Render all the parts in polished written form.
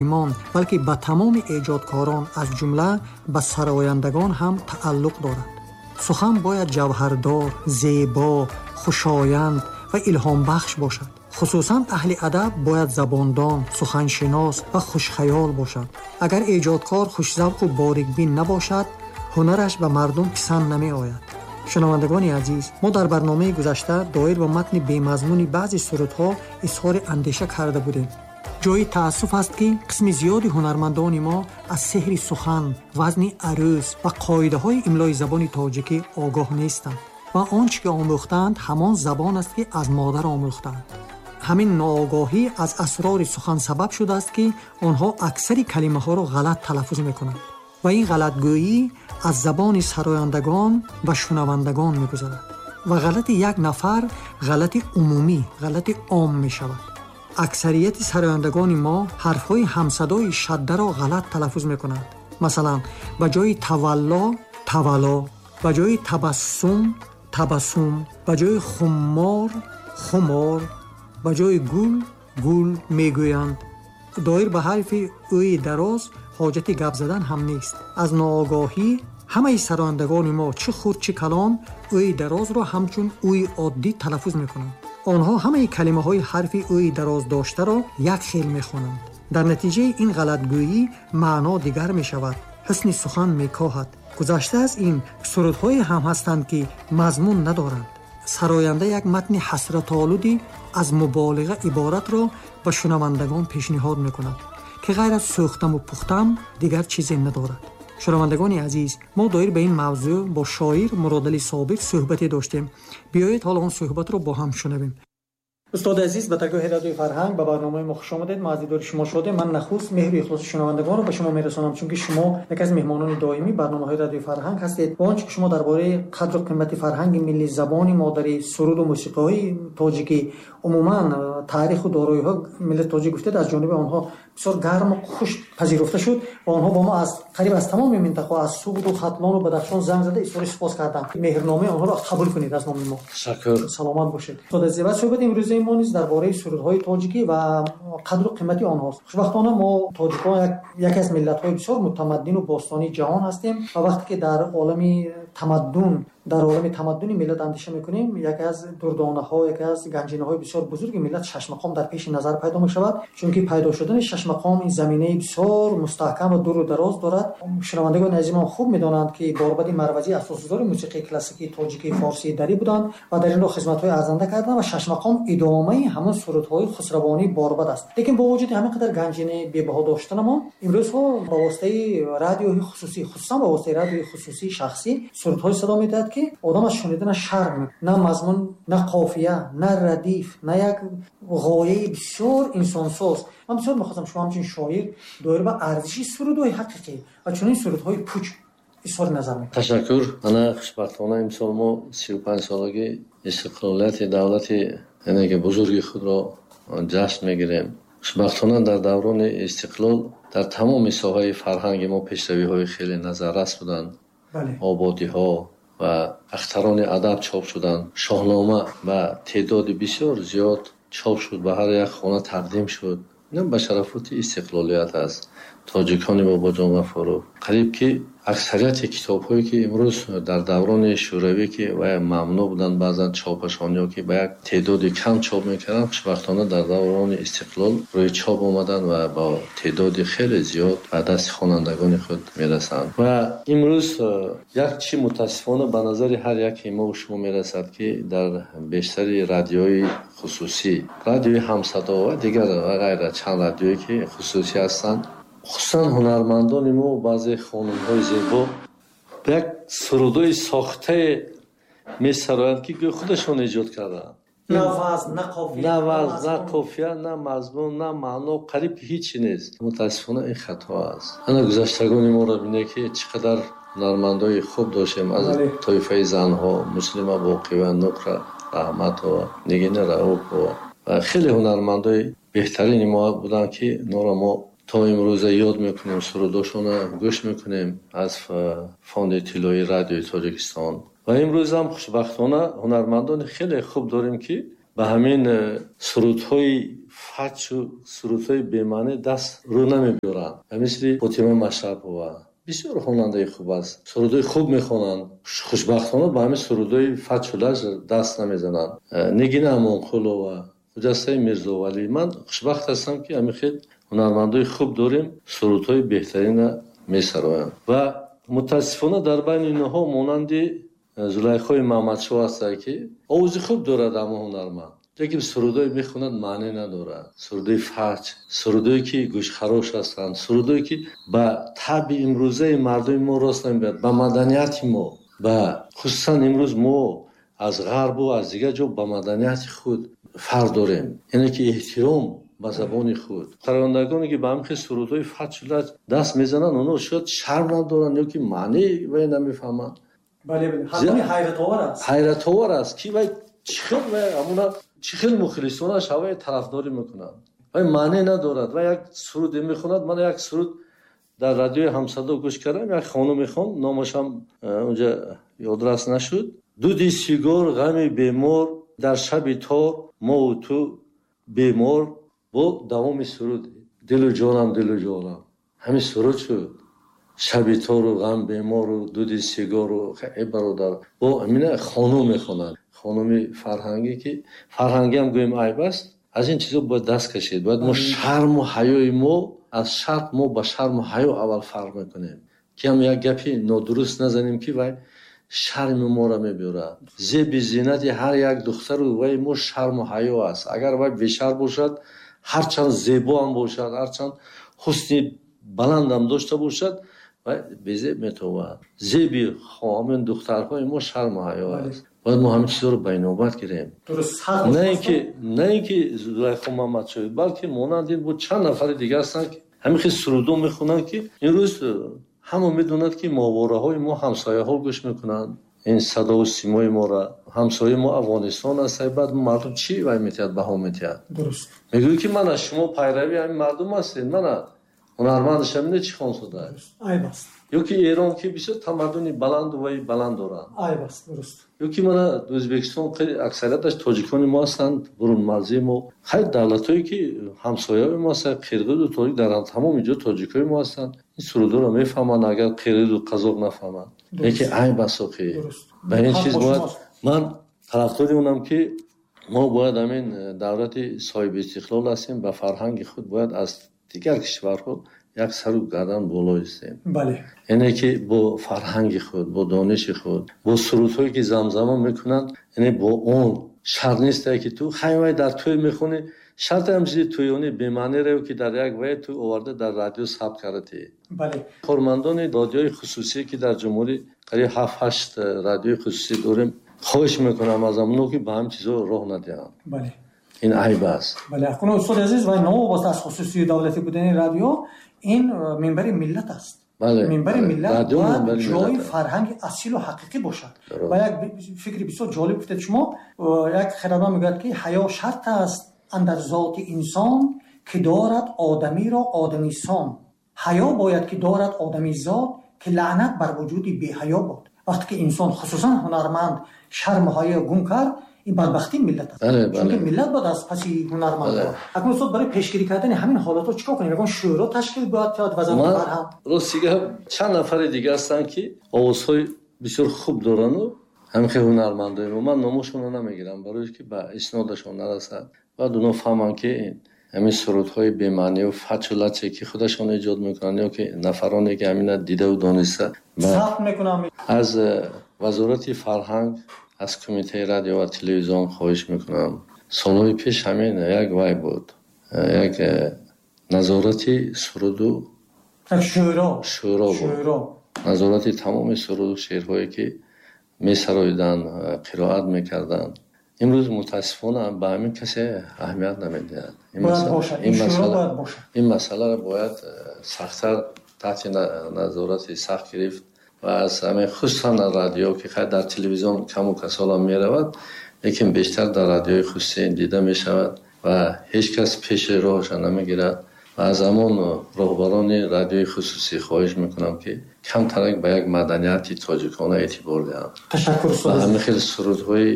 Балки ба тамоми эҷодкорон, аз ҷумла ба сарояндагон ҳам тааллуқ дорад. Сухан бояд ҷавҳардор, зебо, хушоянд ва илҳомбахш бошад. Хусусан аҳли адаб бояд забондон, суханшинос ва хушхаёл бошад. Агар эҷодкор хушзавқу борикбин набошад, ҳунараш ба мардум писанд намеояд. Шунавандагони азиз, мо дар барномаи гузашта доир ба матни бемазмуни баъзе сурудҳо изҳори андеша карда будем. Ҷои таассуф аст, ки қисми зиёди ҳунармандони мо аз сеҳри сухан, вазни арӯз ва қоидаҳои имлои забони тоҷикӣ огоҳ нестанд ва он чӣ ки омӯхтаанд, ҳамон забон аст, ки аз модар омӯхтаанд. Ҳамин ноогоҳӣ аз асрори сухан сабаб шудааст, ки онҳо аксари калимаҳоро ғалат талаффуз мекунанд ва ин ғалатгӯӣ аз забони сарояндагон ба шунавандагон мегузарад ва ғалати як нафар ғалати умумӣ, ғалати ом мешавад. Аксарияти сарояндагони мо ҳарфҳои ҳамсадои шаддаро ғалат талаффуз мекунанд. Масалан, ба ҷои тавалло тавало, ба ҷои табассум табассум, ба ҷои хуммор хумор, ба ҷои гул гул мегӯянд. Доир ба ҳарфи ӯи дароз ҳоҷати гап задан ҳам нест. Аз ноогоҳӣ ҳамаи сарояндагони мо, чӣ хурд, чӣ калон, ӯи дарозро ҳамчун ӯи оддӣ талаффуз мекунанд. Онҳо ҳамаи калимаҳои ҳарфи ӯи дароз доштаро як хел мехонанд. Дар натиҷаи ин ғалатгӯӣ маъно дигар мешавад, ҳусни сухан мекоҳад. Гузашта аз ин, сурудҳое ҳам ҳастанд, ки мазмун надоранд. Сароянда як матни ҳасратолуди аз муболиға иборатро ба шунавандагон пешниҳод мекунад, ки ғайр аз сӯхтаму пухтам дигар чизе надорад. Шунавандагони азиз, мо доир ба ин мавзӯъ бо шоир Муродалӣ Собир суҳбате доштем. Биёед, ҳоло он суҳбатро бо ҳам шунавем. Устоди азиз, ба даргоҳи Радиои Фарҳанг, ба барномаи мо хуш омадед. Мо аз дидори шумо шодем. Ман нахуст меҳру ихлоси шунавандагонро ба шумо мерасонам, чунки шумо яке аз меҳмонони доимии барномаҳои Радиои Фарҳанг ҳастед ва он чӣ ки шумо дар бораи қадру қимати фарҳанги миллӣ, забони модарӣ, суруду мусиқиҳои тоҷикӣ, умуман таъриху дороиҳо миллати тоҷик гуфтед, аз ҷониби онҳо бисёр гарму хуш пазируфта шуд ва онҳо бо мо аз қариб аз тамоми минтақаҳо, аз Суғду Хатлону Бадахшон занг зада изҳори сипос карданд. Меҳрномаи онҳоро қабул кунед аз номи мо. Ташаккур. Саломат бошед, устоди азиз. Ва суҳбати имрӯзаи мо низ дар бораи сурудҳои тоҷикӣ ва қадру қимати онҳост. Хушбахтона, мо тоҷикон яке аз миллатҳои бисёр мутамаддину бостонии ҷаҳон ҳастем ва вақте ки дар олами тамаддун, дар олами тамаддуни миллат андеша мекунем, яке аз дурдонаҳо, яке аз ганҷинаҳои бисёр бузурги миллат шашмақом дар пеши назар пайдо мешавад, чунки пайдо шудани шашмақом ин заминаи бисёр мустаҳкам ва дуру дароз дорад. Шунавандагони азизмон хуб медонанд, ки Борбади Марвазӣ асосгузори мусиқии классикии тоҷикии форсии дарӣ буданд ва дар ин роҳ хизматҳои арзанда карданд ва шашмақом идомаи ҳамон сурудҳои хусравонии Борбад аст. Лекин бо вуҷуди ҳамин қадар ганҷинаи бебаҳо доштанамон, имрӯзҳо ба воситаи радиои хусусӣ, хусусан ба воситаи радиои хусусии шахсӣ, сурудҳое садо медиҳад, ки одам аз шунидана шарм мекунад. На мазмун, на қофия, на радиф, на як ғояи бисёр инсонсоз. Ман бисёр мехостам шумо ҳамчун шоир доир ба арзиши сурудҳои ҳақиқӣ ва чунин сурудҳои пуч изҳори назар мекунед. Ташаккур. Ана, хушбахтона, имсол мо 35-солагии истиқлолияти давлати, яъне ки бузурги худро ҷашн мегирем. Хушбахтона, дар даврони истиқлол дар тамоми соҳаи фарҳанги мо пешравиҳои хеле назаррас буданд. Ободиҳо ва Ахтарони адаб чоп шуданд, Шоҳнома ба теъдоди бисёр зиёд чоп шуд, ба ҳар як хона тақдим шуд. Ин ба шарафоти истиқлолият аст. Тоҷикони Бобоҷон Ғафуров, қариб ки аксарияти китобҳое, ки имрӯз дар даврони шӯравӣ, ки вай мамнӯъ буданд баъзан чопашон ё ки ба як теъдоди кам чоп мекарданд, хушбахтона, дар даврони истиқлол рӯи чоп омаданд ва бо теъдоди хеле зиёд ба дасти хонандагони худ мерасанд. Ва имрӯз як чи мутаассифона ба назари ҳар яке мову шумо мерасад, ки дар бештари радиои хусусӣ, радиои Ҳамсадо ва дигар ва ғайра, чанд радиое ки хусусӣ ҳастанд, хусусан ҳунармандони мо, баъзе хонумҳои зебо як сурудҳои сохтае месароянд, ки гӯё худашон эҷод кардаанд. На вазн, на қофия. На вазн, на қофия, на мазмун, на маъно, қариб ки ҳичи нест. Мутаассифона, ин хато аст. Ана, гузаштагони моро бинед, ки чӣ қадар ҳунармандои хуб доштем аз тоифаи занҳо: Муслима Боқиева, Нуқра Раҳматова, Нигина Раупова ва хеле ҳунармандои беҳтарини мо буданд, ки инҳоро мо то имрӯза ёд мекунем, сурудошонро гӯш мекунем аз фонди тиллоии Радиои Тоҷикистон. Ва имрӯзам хушбахтона ҳунармандони хеле хуб дорем, ки ба ҳамин сурудҳои фачу сурудҳои бемаънӣ даст рӯ намебиёранд. Ба мисли Фотима Машрапова бисёр хонандаи хуб аст, сурудҳои хуб мехонанд, хушбахтона ба ҳамин сурудҳои фачу лаҷ даст намезананд. Нигина Амонқулова, Хуҷастаи Мирзовалӣ. Ман хушбахт ҳастам, ки ҳамин хел ҳунармандои хуб дорем, сурудҳои беҳтарина месароянд. Ва мутаассифона дар байни инҳо монанди Зулайхои Маҳмадшоҳ ҳастанд, ки овози хуб дорад, аммо ҳунарманд, лекин сурудҳое мехонад, маъне надорад. Сурудҳои фаҷ, сурудҳое ки гӯшхарош ҳастанд, сурудҳое ки ба табъи имрӯзаи мардуми мо рост намебиёд, ба маданияти мо, ба хусусан имрӯз мо аз ғарбу аз дигар ҷо ба маданияти худ фарқ дорем, яъне ки эҳтиром ба забони худ. Сарояндагоне ки ба ҳамин хел сурудҳои фачу лаҷ даст мезананд, онҳо шояд шарм надоранд ё ки маънии вай намефаҳманд. Бале, бале. Ҳатман ҳайратовар аст. Ҳайратовар аст, ки вай чӣ хел вай ҳамуна чӣ хел мухлисонаш ҳавай тарафдорӣ мекунанд. Вай маъне надорад. Вай як суруде мехонад. Ман як суруд дар радиои Ҳамсадо гӯш кардам, як хонум мехонд, номашам унҷа ёдрас нашуд. Дуди сигор, ғами бемор, дар шаби тор, мову ту бемор, бо давоми суруд дилу ҷонам, дилу ҷонам. Ҳамин суруд шуд. Шаби тору ғам бемору дуди сигору. Эй бародар, бо ҳамина хонум мехонад. Хонуми фарҳангӣ, ки фарҳангиам гӯем айб аст, аз ин чизо бояд даст кашид. Бояд мо шарму ҳаёи мо аз шарқ, мо ба шарму ҳаё аввал фарқ мекунем, ки ҳам як гапи нодуруст назанем, ки вай шарми моро мебиёрад. Зеби зинати ҳар як духтару вай мо шарму ҳаё аст. Агар вай бешарм бошад, ҳарчанд зебоам бошад, ҳарчанд ҳусни баландам дошта бошад, вай безеб метобад. Зеби ҳамин духтарҳои мо шарму ҳаё аст. Бояд мо ҳамин чизҳоро ба инобат гирем. На ин ки Зулайхо Маҳмадшоҳ, балки монанд ин бо чанд нафари дигар ҳастанд, ки ҳамин хел сурудо мехонанд, ки имрӯз ҳама медонад, ки моҳвораҳои мо ҳамсояҳо гӯш мекунанд ин садову симои моро. Ҳамсояи мо Афғонистон аст, баъд мардум чӣ вай метиҳад, баҳо метиҳад? Мегӯяд, ки мана шумо пайрави ҳамин мардум ҳастед, мана ҳунармандаш ҳамине чӣ хон шудааст. Айб аст. Ё ки Эрон, ки бисёр тамаддуни баланду вай баланд доранд. Айб аст, дуруст. Ё ки мана Ӯзбекистон, хеле аксарияташ тоҷикони мо ҳастанд, бурунмарзии мо. Хайр, давлатҳое ки ҳамсояҳои мо ҳастанд, қирғизу тоҷик, дар тамоми ҷо тоҷикҳои мо ҳастанд, ин сурудҳоро мефаҳманд, агар қирғизу қазоқ нафаҳманд. Лекин айб аст охи. Ба ин чиз бояд ман тарафдори онам, ки мо бояд ҳамин давлати соҳиби истиқлол ҳастем, ба фарҳанги худ бояд аз дигар кишварҳо як сару гардан боло истем. Яъне ки бо фарҳанги худ, бо дониши худ, бо сурудҳое ки замзама мекунанд, яъне бо он шарт несте, ки ту хай вай дар тӯй мехонӣ, шарт ҳам чизи тӯёнӣ бемаънере, ки дар як вай ту оварда дар радио сабт кардӣ. Кормандони радиои хусусӣ, ки дар ҷумҳурӣ қариб 7-8 радиои хусусӣ дорем, хоҳиш мекунам аз онҳо, ки ба ҳамин чизҳо роҳ надиҳанд. Ин айб аст. Бале, акнун устоди азиз, вай новобаста аз хусусии давлатӣ будани радио, ин минбари миллат аст. Минбари миллат бояд ҷои фарҳанги асилу ҳақиқӣ бошад. Ва як фикри бисёр ҷолиб гуфтед шумо. Як хирадманд мегӯяд, ки ҳаё шарт аст андар зоти инсон, ки дорад одамиро одамисон. Ҳаё бояд ки дорад одамизод, ки лаънат бар вуҷуди беҳаё бод. Вақте ки инсон, хусусан ҳунарманд, шарму ҳаё гум кард, ин бадбахтии миллат аст. Чунки миллат бояд аз паси ҳунарманд. Акнун устод, барои пешгирӣ кардани ҳамин ҳолатҳо чикор кунем? Ягон шӯро ташкил бояд кард, вазорати фарҳанг? Рости гап, чанд нафари дига ҳастанд, ки овозҳои бисёр хуб дорану ҳамин хел ҳунармандои мо. Ман номошонро намегирам, барои ки ба иснодашон нарасад. Баъд онҳо фаҳманд, ки ҳамин сурудҳои бемаънию фачу лаче, ки худашон эҷод мекунанд, ё ки нафароне, ки ҳамина дидаву дониста сабт мекунанд. Аз вазорати фарҳанг, аз кумитаи радио ва телевизион хоҳиш мекунам. Солҳои пеш ҳамин як вай буд, як назорати суруду шӯро буд, назорати тамоми суруду шеърҳое, ки месароиданд, қироат мекарданд. Имрӯз мутаассифона ба ҳамин касе аҳамият намедиҳад. Ин масъаларо бояд сахттар таҳти назорати сахт гирифт ва аз ҳамин хусусан радио, ки хайр дар телевизион каму касолам меравад, лекин бештар дар радиои хусусӣ дида мешавад ва ҳеҷ кас пеши роҳаша намегирад. Ва аз ҳамон роҳбарони радиои хусусӣ хоҳиш мекунам, ки камтарак ба як маданияти тоҷикона эътибор диҳанд. Ташаккур, устод. Ва ҳамин хел сурудҳои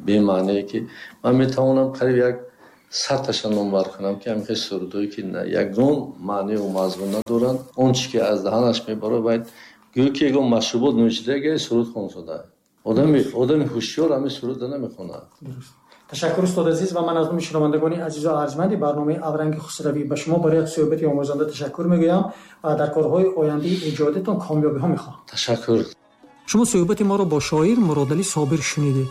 бемаъние, ки ман метавонам қариб як садташа номбар кунам, ки ҳамин хел сурудҳое, ки ягон маъниву мазмун надоранд, он чи ки аз даҳанаш мебарад, бояд гӯё ки ягон машрубот нӯшида суруд хонсода. Одами ҳушёр ҳамин сурудро намехонад. Ташаккур, устод азиз, ва ман аз номи шунавандагони азизу арҷманди барномаи «Авранги хусравӣ» ба шумо барои як суҳбати омӯзанда ташаккур мегӯям ва дар корҳои ояндаи эҷодитон комёбиҳо мехоҳам. Ташаккур. Шумо суҳбати моро бо шоир Муродалӣ Собир шунидед.